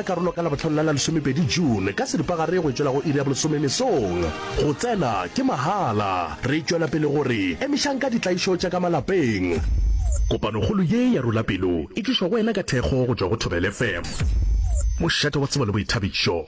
Karolo ka Labohlano la la lesomepedi June ka seripagare go tšwela go iri ya bolesome mesong. Go tsena ke mahala. Re tšwela pele go re emišang ka ditlaišo tša ka malapeng. Kopanokgolo ye ya Rula Pelo e tlišwa go wena ka thekgo go tšwa go Thobela FM, mošate wa tsebo le boithabišo.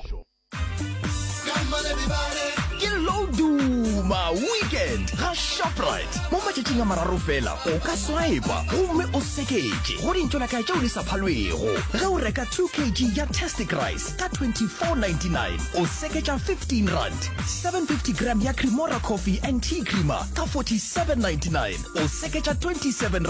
Ke Loduma Weekend ga Shoprite. Mo matšatšing a mararo fela o ka swipa gomme o seketše go dintšolaka tšeo di sa phalwego. Ge o reka 2 kg ya Tastic Rice ka 24.99 o seketša R15, 750 gram ya Cremora Coffee and Tea Creamer ka 47.99 o seketša R27,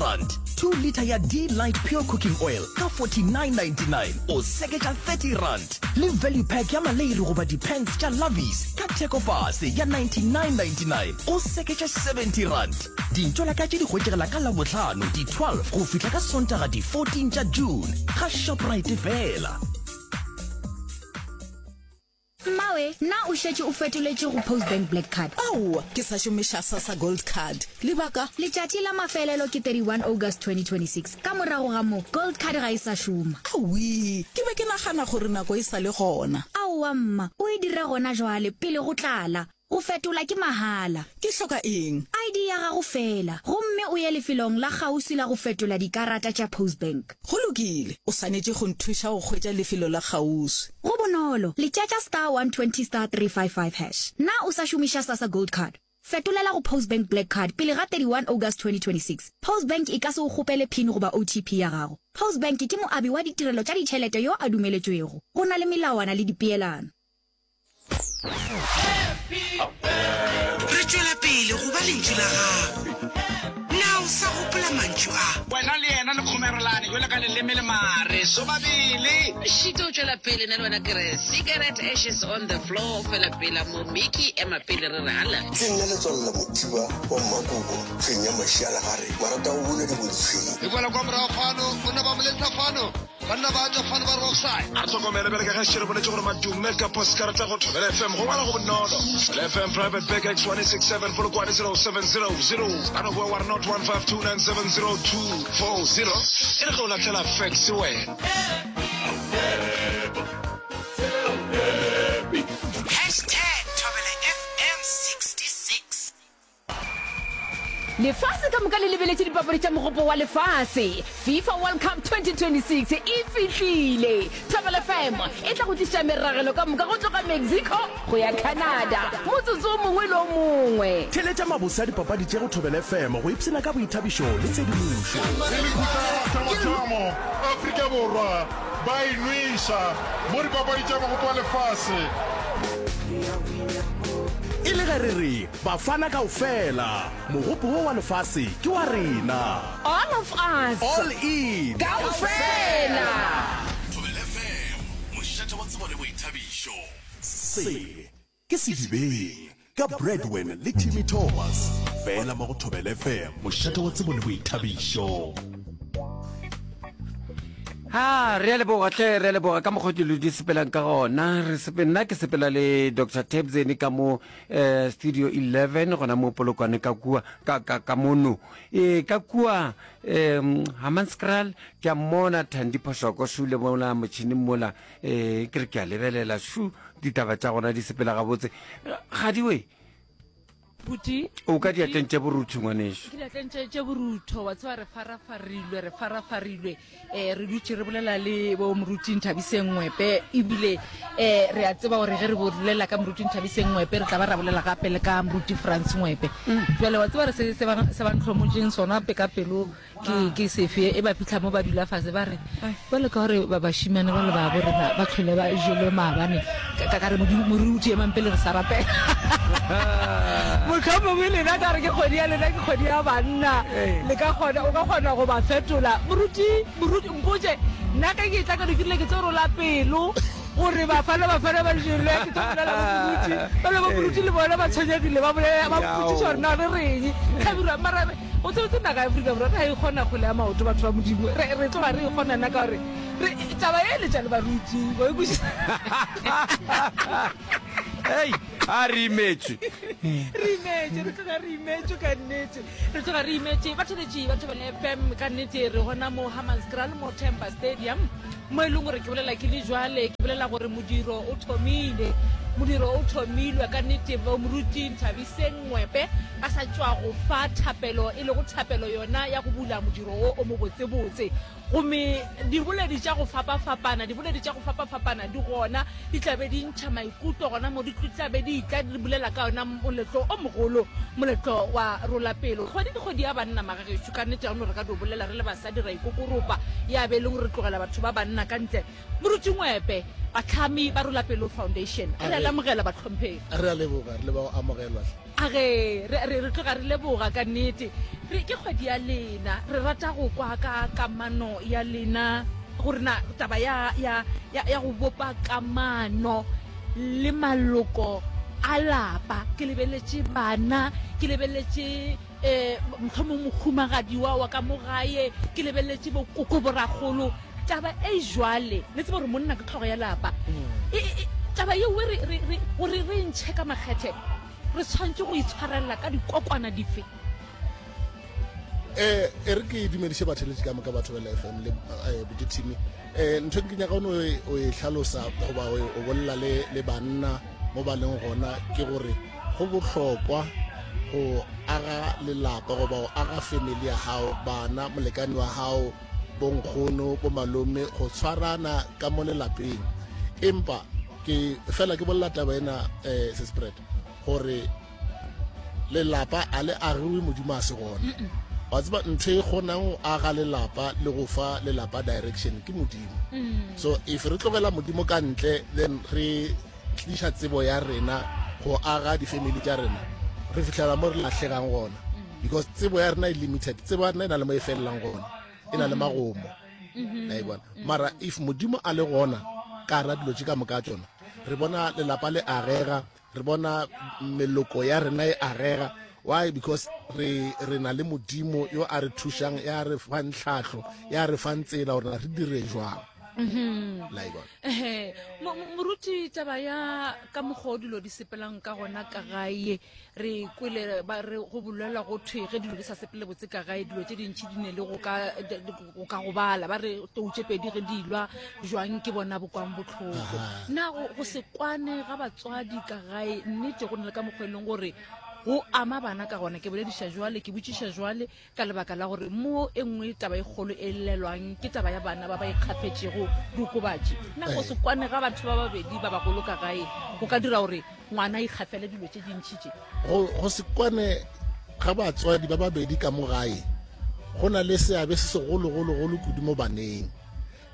2 litre ya D-Light Pure Cooking Oil ka 49.99 o seketša R30. Le value pack ya maleiri goba di-pants tša Lovies ka thekofase ya 99.99 o seketša R70. Dintšolaka tše di hwetšegela ka Labohlano di 12 go fihla ka Sontaga di 14 tša June ga Shoprite fela. Mmawe, na o šetše o fetoletše go Postbank Black Card? Aowa, ke sa šomiša Sassa Gold Card. Lebaka? Letšatši la mafelelo ke 31 August 2026. Ka morago ga moo, Gold Card ga e sa šoma. Awii, ke be ke nagana gore nako e sa le gona. Aowa mma, o e dire gona jwale, pele go tlala. Go fetola ke mahala. Ke hloka eng? ID ya gago feela, gomme o ye lefelong la kgauswi la go fetola dikarata tša Postbank. Go lokile, o swanetše go nthuša go hwetša lefelo la kgauswi. Go bonolo, letšatša star 120 star 355 hash. Na o sa šomiša Sassa Gold Card? Fetolela go Postbank Black Card pele ga 31 August 2026. Postbank e ka se o kgopele pin goba OTP ya gago. Postbank ke moabi wa ditirelo tša ditšhelete yo a dumeletšwego. Go na le melawana le dipeelano. Re tšwela pele go ba lentšu la gago. Na o sa gopola mantšu a? Wena le yena le kgomerelane bjalo ka leleme le mare sobabele. Šito o tšwela pele, nna le wena ke re cigarette ashes on the floor, fela pela mo Mickey ema pele re re alla. Ke nna Letswalo la Mothiba wa Mmakobo, Fenya Mašialagare, Marata go buna diboditshweng. E boela kwa morago fano, o na ba mo lesa fano. Banna ba tšwa fano ba re offside. A re hlokomele bjale ka ge še re boletše gore madume ka poskarata go Thobela FM go ngwala go bonolo. Thobela FM Private Bag X167 Polokwane 07000 ka no boa wa re not 152970240 e re ge o lahlela fax wena. Hashtag Thobela FM 66. Lefase ka moka le lebeletše dipapadi tša Mogopo wa Lefase. FIFA World Cup 2026 e fihlile! Thobela FM e tla go tliša meragelo ka moka go tloga Mexico go ya Canada motsotso o mongwe le o mongwe. Theeletša mabose a dipapadi tše go Thobela FM go ipshina ka boithabišo le tshedimošo. E le khutla ya mathomathomo, Afrika Borwa ba e nweša mo dipapadi tša Mogopo wa Lefase. E le ge re re Bafana kaofela, mogopo wo wa lefase ke wa rena. All of us. All in. Kaofela. Thobela FM, mošate wa tsebo le boithabišo. Se ke Sedibeng ka Bradwin le Timmy Thomas, fela mo go Thobela FM, mošate wa tsebo le boithabišo. Ha, re a leboga hle, re a leboga ka mokgwa dilo di sepelang ka gona. Re sepe, nna ke sepela le Dr. Tebzeni ka mo eh, Studio 11 gona mo Polokwane ka kua, ka, ka, ka mono. E, ka kua um Hammanskraal ke a mmona Thandi Phoshoko šule mola motšhineng mola, eh, ke re ke a lebelela šu ditaba tša gona di sepela gabotse. Gadiwe, Buti, o ka diatleng tše borutho ngwanešu. Ke diatleng tše tše borutho, wa tseba re farafarilwe, re farafarilwe. Eh re dutše re bolela le bo moruti Nthabiseng Ngwepe ebile eh re a tseba gore ge re bolela ka moruti Nthabiseng Ngwepe re tla ba ra bolela gape le ka moruti Frans Ngwepe. Jwale wa tseba re se se ba se ba ntlhomotšeng sona pe ka pelo Ke, ke sefe e ba fitlha mo ba dula fase ba re bjale ka gore ba bašimane ba le ba bo rena ba tlhole ba jelwe maabane ka ka re moruti emang pele re sa rapela mohlomongwe lena ka re ke kgwedi ya lena ke kgwedi ya banna le ka kgona o ka kgona go ba fetola moruti moruti mpotše nna ka ke tla ka ke rile ke tlo rola pelo gore bafana bafana ba jelwe ke tlo bolela bo moruti ba le bo moruti le bona ba tshwenyegile ba bolela ba mpotšiša gore na re reng tlhabirwa mara O tsebetse naga ya Afrika Borwa ga e kgona kgwele ya maoto batho ba Modimo. Re re tloga re e kgona nna ka gore re taba e letša le baruti. Wa e kwešiša? Hei, a re imetšwe. Re imetšwe, re tloga re imetšwe ka nnete. Re tloga re imetše. Batheletši ba Thobela FM ka nnete re gona mo Hammanskraal mo Temba Stadium. Mo e leng gore ke bolela ke le jwale, ke bolela gore modiro o thomile. Modiro o thomilwe ka nnete. Bo Moruti Nthabiseng Ngwepe ba sa tšwa go fa thapelo, e lego thapelo yona ya go bula modiro wo o mobotsebotse. Gomme diboledi tša go fapafapana, diboledi tša go fapafapana di gona, di tla be di ntšha maikutlo gona mo, di tla be di tla di bolela ka yona moletlo o mogolo, moletlo wa Rola Pelo. Kgwedi ke kgwedi ya banna, magagešo, ka nnete ga no re ka dio bolela re le basadi ra ikokoropa, ya be e le gore re tlogela batho ba banna ka ntle. Moruti Ngwepe, bahlami ba Rola Pelo Foundation, re a le amogela bahlomphegi. Re a leboga, re leboga go amogelwa hle. A re, re, re, re tloga re leboga ka nnete. Re, ke kgwedi ya lena. Re rata go kwa ka kamano ya lena, gore na taba ya, ya, ya, ya go bopa kamano le maloko a lapa. Ke lebeletše bana, ke lebeletše, eh, mohlomong mohumagadi wa, wa ka mo gae, ke lebeletše bokoko, borakgolo. Taba e jwale, le tseba gore monna ke hlogo ya lapa. E, e, e, taba yeo re, re, re, gore re e ntšhe ka makgethe, Re tshwanetše go itshwarelela ka dikokwana dife? Eh, e re ke dumediše batheletši ka moka batho bela fm le eh, buti team eh ntho ke nyaka o o e hlalosa goba o bolela le le banna mo ba leng gona ke gore go bohlokwa go aga lelapa goba go aga family ya gago bana molekane wa gago bonkgono bomalome go tshwarana ka mo lelapeng empa Ke fela ke bolela taba ena eh sespread gore lelapa a le agiwe modimo a se gona. Wa tseba ntho e kgonang go aga lelapa le go fa lelapa direction ke modimo. Mm. So if re tlogela modimo ka ntle then re tliša tsebo ya rena go aga di-family tša rena re fihlela mo re lahlegang gona mm. because tsebo ya rena e limited tsebo ya rena e na le mo e felelang gona e na le magomo la e bona mara if modimo a le gona ka ra dilo tše ka moka tsona re bona lelapa le agega re bona meloko ya rena e agega why because re re na le modimo yo a re thušang ya re fang tlhahlo ya re fang tsela gore re dire jwang mm-hmm. la e bona moruti taba ya ka mokgwa o dilo di sepelang ka gona ka gae Re kwele ba re go bolelwa go thwe ge dilo di sa sepele botse ka gae dilo tše dintši di ne le go ka go ka gobala ba re tou tše pedi ge di lwa jwang ke bona bo kwang bohloko. Na go go se kwane ga batswadi ka gae nnete go na le ka mokgwa e leng gore go ama bana ka gona? Ke bolediša jwale ke botšiša jwale ka lebaka la gore mo e nngwe taba e kgolo e llelwang ke taba ya bana ba ba ikgafetšego diokobatši. Na go se kwane ga batho ba babedi ba bagolo ka gae go ka dira gore ngwana a ikgafele dilo tše dintši tše? Go, go se kwane ga batswadi ba babedi ka mo gae go na le seabe se segologologolo kudu mo baneng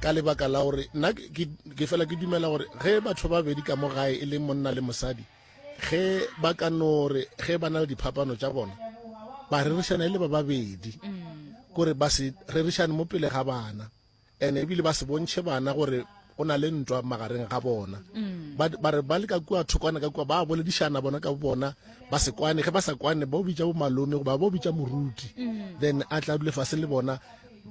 ka lebaka la gore nna ke, ke fela ke dumela gore ge batho ba babedi ka mo gae e le monna le mosadi Ge ba ka no re ge ba na le diphapano tša bona ba rerišana e le ba babedi kore ba se rerišane mo pele ga bana ene ebile ba se bontšhe bana gore go na le ntwa magareng ga bona ba ba re ba le ka kua thokwana ka kua ba boledišana bona ka bona ba se kwane ge ba sa kwane ba o bitša bo malome goba ba o bitša moruti then a tla dule fase le bona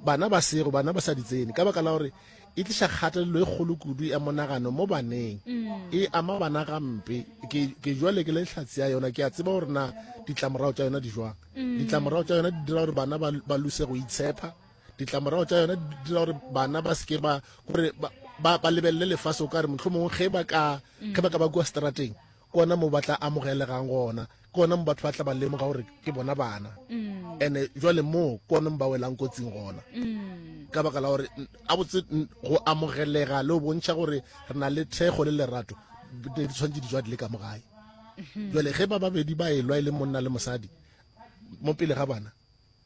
bana ba sego bana ba sa di tsene ka baka la gore E tliša kgatelelo e kgolo kudu ya monagano mo baneng. E ama bana gampe. Ke, ke jwale ke le hlatse ya yona, ke a tseba gore na ditlamorago tša yona di jwang. Ditlamorago tša yona di dira gore bana ba, ba lose go itshepa. Ditlamorago tša yona di dira gore bana ba seke ba, gore ba, ba, ba lebelele lefase o ka re mohlomongwe ge ba ka, ge ba ka ba kua seterateng, ke gona mo ba tla amogelegang gona, ke gona mo batho ba tla ba lemoga gore ke bona bana. Ene jwale mo ke gona mo ba welang kotsing gona. Ka baka la gore a botse go amogelega le go bontšha gore re na le thekgo le lerato di tshwanetse di tswa di le ka mo gae. Jwale ge ba babedi ba elwa e le monna le mosadi mo pele ga bana,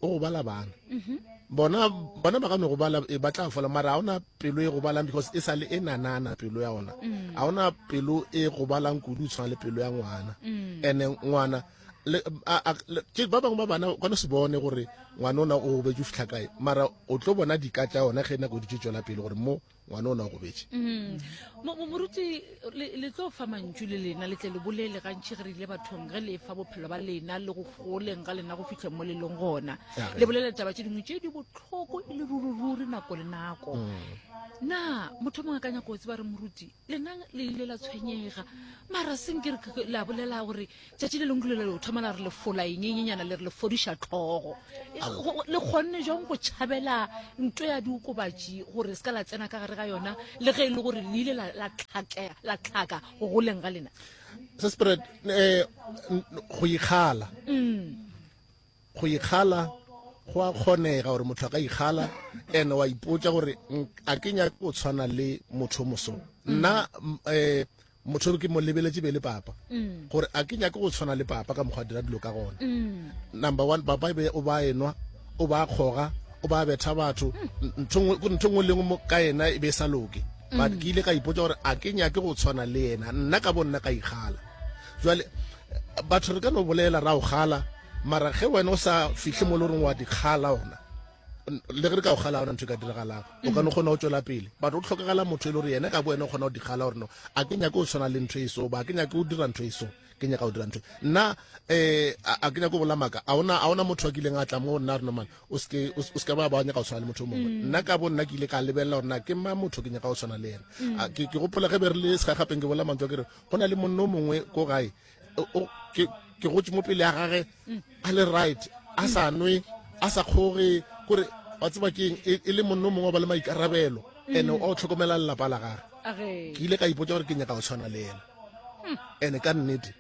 o gobala bana mhm. bona bona ba ka no gobala e, ba tla fola mara ga ona pelo e gobalang because e sa le e nanana pelo ya ona mm. ga ona pelo e gobalang kudu o tshwana le pelo ya ngwana mm. ene ngwana ba bangwe ba bana ka no se bone gore ngwana ona o gobetse o fitlha kae mara o tlo bona dika tša ona ge nako di tše tswela pele gore mo Ngwana o na gobetše. Mm. Moruti, le tlo fa mantšu le lena, le tle le bolele gantši ge re ile bathong, ge le fa bophelo ba lena le go goleng ga lena go fihleng mo le leng gona. Le bolela taba tše dingwe tše di bohloko e le ruri-ruri nako le nako. Mm. Na motho mongwe a ka nyaka go tseba re moruti, lena le ile la tshwenyega, mara senke re la bolela gore Tšatši le lengwe le le thoma la re le fola eng e nyenyana le re le fodiša tlhogo. Le kgonne jang go tšhabela nto ya diokobatši gore se ka la tsena ka gare gare ga yona le ge e le gore le ile la la tlhakea la tlhaka go goleng ga lena? Se spread eh go ikgala. Mm. Go ikgala go a kgonega gore motho a ka ikgala and wa ipotša gore a ke nyake go tshwana le motho moso. Nna eh motho ke mo lebeletše be le papa mm. gore a ke nyake go tshwana le papa ka mokgwa dira dilo ka gona mm. number one papa e be o ba enwa o ba kgoga o ba betha batho mm. ntho nngwe le nngwe ka yena e be e sa loke but ke ile ka ipotsa gore a ke nyake go tshwana le yena nna ka bo nna ka ikgala jale batho re ka no bolela ra o gala mara ge wena o sa fihle mo le goreng wa dikgala ona le ge re ka o gala ona ntho e ka diragalang o ka no kgona go tšwela pele but o tlhokagala motho e le gore yena ka bo wena o kgona go dikgala gore no a ke nyake o tshwana le ntho e so ba ke nyake o dira ntho e so ke nyaka go dira ntho nna um a ke nyake go bola maaka a ona a ona motho a kileng a tla mo nna re no man o seke o seke ba ba nyaka go tshwana le motho o mongwe mm. nna ka bo nna ke ile ka lebelela gore na ke ma motho ke nyaka go tshwana le yena mm. ke ke gopola ge be re le segagapeng ke bola mantswe ke re go na le monno o mongwe ko gae ke ke gotse mo pele ya gage mm. a le right a sa nwe a sa kgoge kore wa tseba keng e, e le monno mongwe wa ba le maikarabelo mm. and o tlhokomela lelapa la gage ke ile ka ipotsa gore ke nyaka go tshwana le ena mm. and ka nnete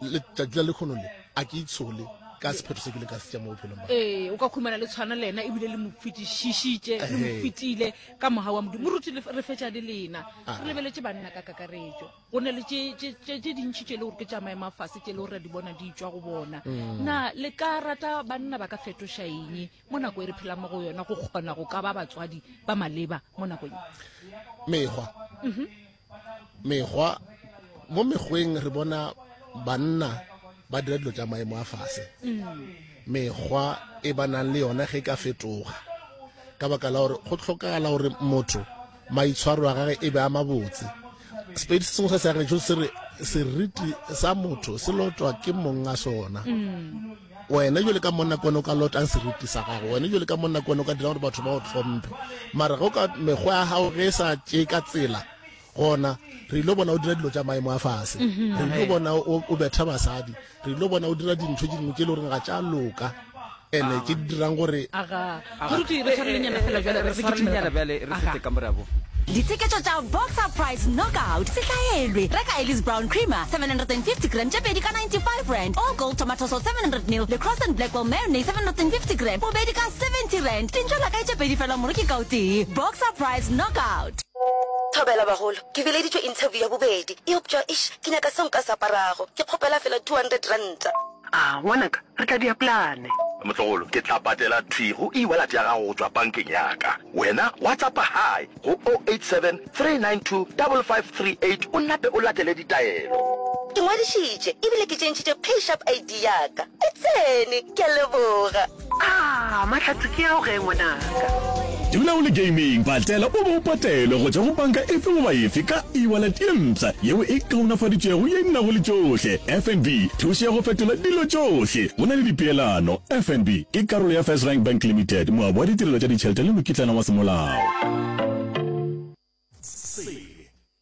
letšatši la lekgono le a ke itshole ka sephetho se ke le ka se tša mo bophelong ba ee o ka khumana le tshwana le ena ebile le mo fetišišitše le mo fetile ka moga wa modimo moruti re fetša le lena re lebeletše banna ka kakaretšo Go na le tše, tše, tše, tše dintši tše e le gore ke tša maemo a fase tše e le gore re di bona di tšwa go bona. Mm. Na le ka rata banna ba ka fetoša eng mo nako e re phelang mo go yona go kgona go ka ba batswadi ba maleba mo nakong ye? Mekgwa. Mhm. Mekgwa, mo mekgweng re bona banna ba dira dilo tša maemo a fase. Mm. Mekgwa e ba nang le yona ge e ka fetoga ka baka la gore go hlokagala gore motho Maitshwaro a gage e be a mabotse. Sepedi se sengwe sa seagešo se re seriti sa motho se lotwa ke mong a sona. Mm. Wena jale ka monna kone o ka lotang seriti sa gago, wena jale ka monna kone o ka dirang gore batho ba o hlomphe. Mara ge o ka mekgwa ya gago ge e sa tšee ka tsela, gona re ile bona o dira dilo tša maemo a fase. Mhm. Re ile bona o betha basadi, re ile bona o dira dintho tše dingwe tše e le goreng ga tša loka. ene tše di dirang gore Aga. Moruti re tshwarelenyana fela bjale re re tshwarelenyana bjale re fete ka morago. Ditsheketšo tša Boxer Price Knockout se hlaelwe. Reka Ellis Brown Creamer 750 gram tše pedi ka 95 rand, All Gold Tomato Sauce 700 ml le Cross and Blackwell Mayonnaise 750 gram bobedi ka 70 rand. Dintšo la kae tše pedi fela moreki ka o tee. Boxer Price Knockout. Thobela bagolo, ke bileditšwe interview ya bobedi, eupša eish ke nyaka seo nka se aparago. Ke kgopela fela 200 ranta. A, ngwanaka, re tla dia plane. Motlogolo, ke tla patela thwi go e-wallet ya gago go tšwa bankeng ya ka. Wena WhatsAppa hi go 087 392 5538 o nape o latele ditaelo. Ke ngwadišitše ebile ke tšentšhitše PayShap ID ya ka. E tsene! Ke a leboga. A, mahlatse ke ao ge, ngwanaka. Dula o le gaming, patela o be o patelwe go tšwa go panka efe goba efe ka e-wallet ye mpsha yeo e kaonafaditšwego ye e nago le tšohle. FNB, thušo ya go fetola dilo tšohle. Go na le dipeelano. FNB ke karolo ya FirstRand Bank Limited, moabi wa ditirelo tša ditšhelete le mokitlana wa semolao. Se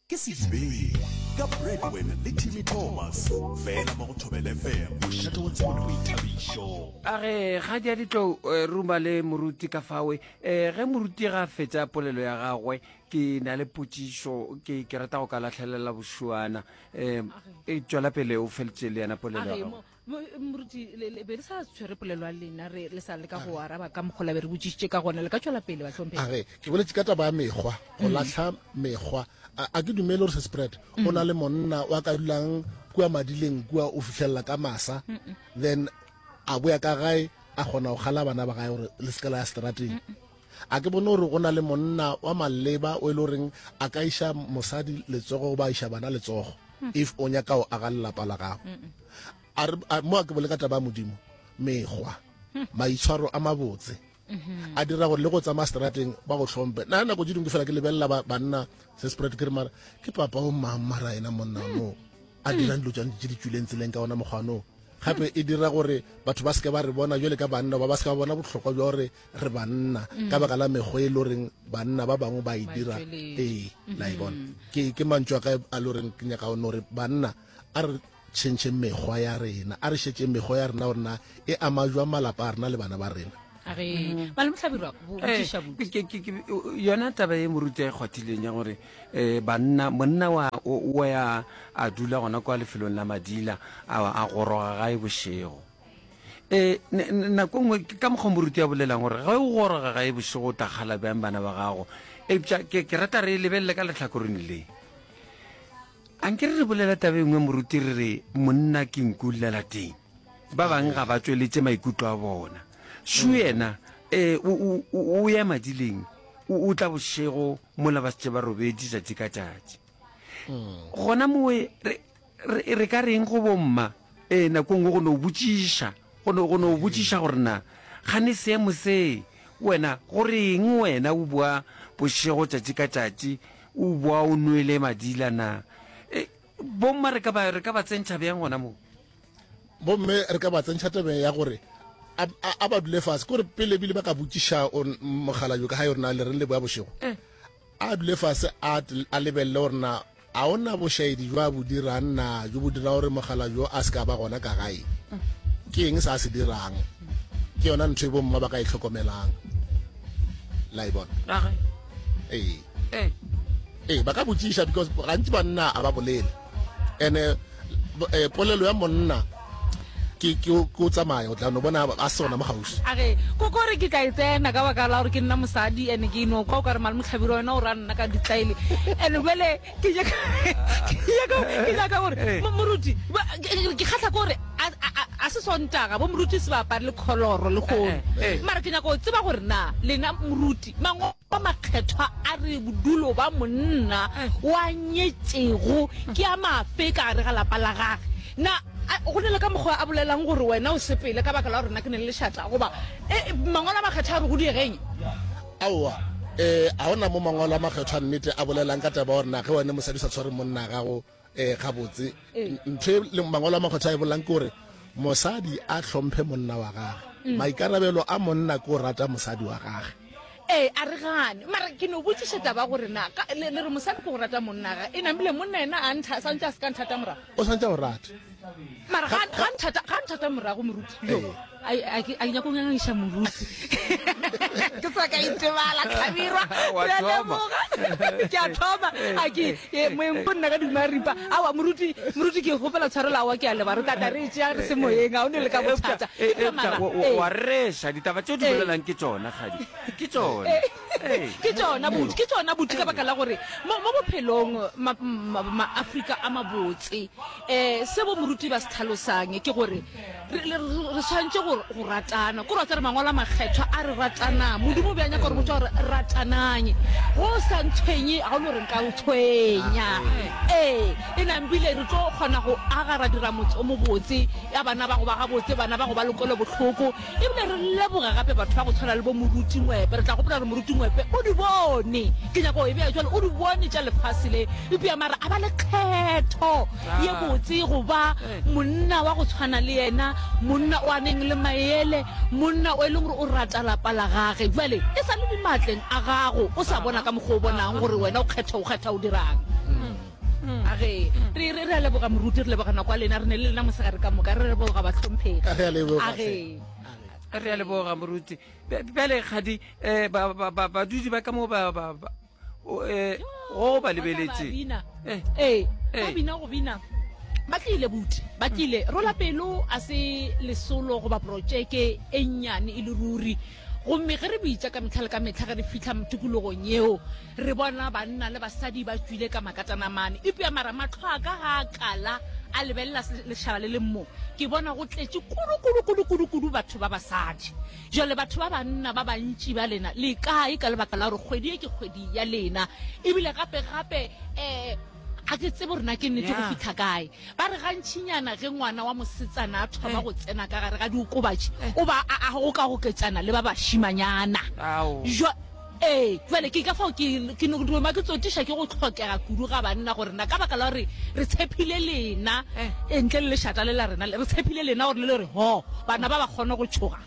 ke Sedibeng ka Bradwin le Timmy Thomas fela mo go Thobela FM, mošate wa tsebo le boithabišo. A re ga di a di tlo eh, ruma le moruti ka fawe eh, ge moruti ga a fetša polelo ya gagwe ke na le potšišo ke ke rata go ka lahlelela bošuana eh, e tšwela pele o feletše le yena polelo ya gago Moruti, le, le be le sa tshwere polelo ya lena, re le sa leka go araba ka mokgwa la be re botšišitše ka gona. Le ka tšwela pele, bahlomphegi. A re, ke boletše ka taba ya mekgwa, go lahla mekgwa. A, a ke dumele gore se spread. O na le monna wa ka dulang kua madileng kua o fihlelela ka masa, then a boya ka gae a kgona go kgala bana ba gae gore le se ke la ya seterateng. A ke bone gore go na le monna wa maleba o e le goreng a ka iša mosadi letsogo goba a iša bana letsogo if o nyaka go aga lelapa la gago. A re, a, mo a ke bole ka taba ya Modimo, mekgwa, maitshwaro a mabotse a dira gore le go tsamaya seterateng ba go hlomphe. Nna nako tše dingwe ke fela ke lebelela ba, banna se spread ke re mara ke papa o mang mara yena monna no a dirang dilo tša tše di tšwileng tseleng ka ona mokgwa no. Gape e dira gore batho ba seke ba re bona jwale ka banna ba ba seke ba bona bohlokwa bja gore re banna ka baka la mekgwa e le goreng banna ba bangwe ba e dira. Ee, la e bona. Ke, ke mantšu a ka a le goreng ke nyaka no re banna a re tšhentšheng mekgwa ya rena, a re šetšeng mekgwa ya rena gore na e ama jwang malapa a rena le bana ba rena. Age, malome Hlabirwa, bo- Eh, botšiša buti. ke- ke- ke- yona taba e moruti a e kgwathileng ya gore um banna monna wa o o ya a dula gona kwa lefelong la madila a a goroga gae bošego um nako nngwe ke ka mokgwa moruti a bolelang gore ge o goroga gae bošego o tla kgala bjang bana ba gago eupša ke ke rata re e lebelele ka lehlakoreng le Anke re re bolela taba e nngwe moruti re re monna ke nku llela teng. Ba bang ga ba tšweletše maikutlo a bona. Shu yena eh, o, o, o, o ya madileng, o, o tla bošego mola ba šetše ba robetše tšatši ka tšatši. Gona mowe re, re, re ka reng go bomma eh, nako e nngwe go no botšiša, go no, go no botšiša gore na gane seemo se wena go reng wena o boa bošego tšatši ka tšatši O boa o nwele madila na? E, bomma re ka ba, re ka ba tsentšha bjang gona mo? Bomme re ka ba tsentšha tabeng ya gore a, a, a ba dule fase, kore pele ebile ba ka botšiša mogala yo ka ga yore na le reng le boya bošego. Eh. A dule fase a, a lebelele gore na a o na bošaedi jo a bo dirang na jo bo dira gore mogala jo a se ka ba gona ka gae. Ke eng se a se dirang? Ke yona ntho e bomma ba ka e hlokomelang. La e bona? Ee. Ee. Ee, ba ka botšiša because gantši banna a ba bolele. Ene eh, polelo ya monna ke ke o tsamaya o tla no bona a sona mo gausi. A re ko kore ke tla e tsena ka baka la gore ke nna mosadi ene ke no kwa o ka re malome Hlabirwa wena o ra nna ka ditlaele ene bjale ke nyaka ke nyaka ke nyaka gore moruti ke kgahla ke gore a se sontaga bo moruti se ba apare le kholoro le kgono mara ke nyaka go tseba gore na lena moruti mango A makgethwa a re bodulo ba monna wa nyetšego ke a mafe ka gare ga lapa la gage? Na go na le ka mokgwa a bolelang gore wena o sepele ka baka la gore nna ke ne le lešata? Goba e, Mangwalo a Makgethwa a re go diegeng? Aowa, e, ga go na mo Mangwalo a Makgethwa a nnete a bolelang ka taba ya gore na ge wena mosadi o sa tshware monna gago e, gabotse. Ntho e le Mangwalo a Makgethwa a e bolelang ke gore mosadi a hlomphe monna wa gage. Maikarabelo a monna ke go rata mosadi wa gage. Ee, a re gane. Mara ke no botšiša taba gore na ka, le, le re mosadi ke go rata monna ga e namile monna yena a ntha, santše a se ka nthata morago. O santše a go rata. Mara ga, ga nthata, ga nthata morago moruti. Yo, a, a, ke, a ke nyako ngangiša moruti. Ke sa ka itebala, Hlabirwa. Wa Re a thoma. leboga. Ke a thoma. A ke, e, moeng ko nna ka duma ripa. Aowa, moruti, moruti ke kgopela tshwarelo, aowa ke a leboga. Re tla tla re e tšea re se moyeng, ga o ne le ka bothata. E, Eupša eupša mara, wa, wa, ee. wa reša ditaba tšeo di Ee. bolelang ke tšona, kgadi. Ke tšona. Ee. Ke tšona buti, ke tšona buti ka baka la gore mo, mo bophelong ma, ma, ma-Afrika a mabotse um se bo moruti ba se tlhalosang ke gore re, re, re swanetše go, go ratana. Ko re wa tseba re mangwalo a makgethwa a re ratanang. Modimo o be a nyaka gore botša gore ratanang. Go o sa ntshwenye ga o no re nka o tshwenya. Ee, e nambile re tlo kgona go aga ra dira motse o mobotse ya bana ba go ba gabotse, bana ba go ba le kwelobohloko. Ebile re leboga gape batho ba go tshwana le bo Moruti Ngwepe. Re tla gopola gore Moruti Ngwepe o di bone, ke nyaka go e bea jwalo, o di bone tša lefase le, eupša mara a ba le kgetho ye botse go ba monna wa go tshwana le yena, monna o a neng le maele, monna o e leng gore o rata lapa la gage. Bjale e sa le dimaatleng a gago, o sa bona ka mokgwa o bonang gore wena o kgetha o kgetha o dirang. A ge re re re a leboga moruti, re leboga nako ya lena, re ne le lena mosegare ka moka, re leboga bahlomphegi. Re a leboga, A ge. Re a leboga moruti. Bjale kgadi eh, ba- ba- ba- badudi ba ka mo ba ba- ba- o, eh, go ba lebeletše. bina. Eh, Ee, Eh. ba bina go bina. Ba tlile buti, ba tlile. Rola pelo a se lesolo goba projeke e nnyane e le ruri. Gomme ge re bitša ka mehla le ka mehla ge re fihla tikologong yeo, re bona banna le basadi ba tšwile ka makatanamane. Eupša mara mahlo a ka ga a kala a lebelela lešaba le leng mo, ke bona go tletše kudu, kudu, kudu, kudu, kudu batho ba basadi. Bjale batho ba banna ba bantši ba lena le kae ka lebaka la gore kgwedi ye ke kgwedi ya lena? Ebile gape, gape, um ga ke tsebe gore na ke nnete go fihla kae. Ba re gantšinyana ge ngwana wa mosetsana a thoma go tsena ka gare ga diokobatši, o ba a, a gokagoketšana le ba bašimanyana. Ee, bjale ke ka fao ke, ke no duma ke tsotiša ke go hlokega kudu ga banna gore na ka baka la gore re tshephile lena, e, ntle le lešata le la rena le, re tshephile lena gore le le re ho, bana ba ba kgone go tšhoga.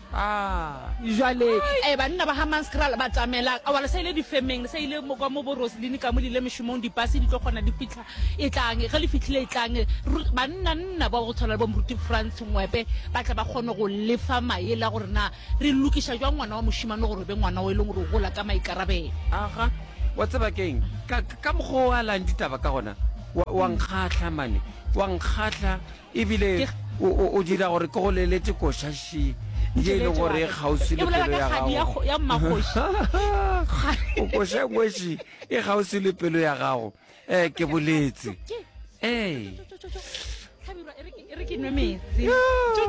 Bjale, ee, banna ba Hammanskraal ba tamela, aowa le sa ile difemeng, le sa ile mo, ka mo bo Roseline ka mo, le ile mešomong, dipase di tlo kgona di fihla, etlang, ge le fihlile etlang, banna nna ba go tshwana le bo Moruti Frans Ngwepe ba tle ba kgone go lefa maele a gore na Re lokiša jwang ngwana wa mošemane gore e be ngwana o e leng gore o gola ka maikarabelo? Aga, wa tseba ke'ng? Ka, ka mokgwa o alang ditaba ka gona, wa, wa nkgahla mane. Wa nkgahla, ebile o, o, o dira gore ke go leletše koša še, ye e leng gore e kgauswi le pelo ya gago. Ya mmakgoši. O koša e nngwe še, e kgauswi le pelo ya gago. Eh, ke boletse. Ee. Hlabirwa, e re ke- e re ke nwe meetse Tšo,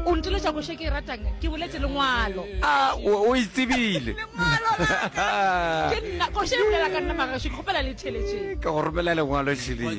o nteletša koše ke e ratang ke boletse lengwalo A, o, o e tsebile. ke nna koše e bolela ka nna magašo ke kgopela le theletšeng Ke go romela lengwalo šeleng.